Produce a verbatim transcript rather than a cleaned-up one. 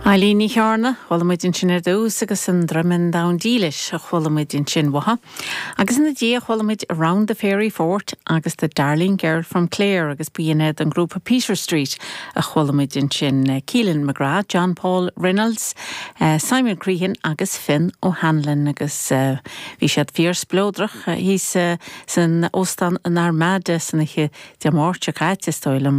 Eilín Ní Chearna chuala muid ansin ar dtús agus an Droimeann Donn Dílis a chuala muid ansin uaithi. Agus ina dhiaidh chuala muid Around the Fairy Fort agus the Darling Girl from Clare agus b'in iad an grúpa Peter Street a chuala muid ansin Keelan McGrath, John Paul Reynolds, uh, Simon Crehan agus Finn O'Hanlon agus uh, bhí siad fíorspleodrach thíos uh, san óstán an Armada san oíche Dé Máirt caite is dóigh liom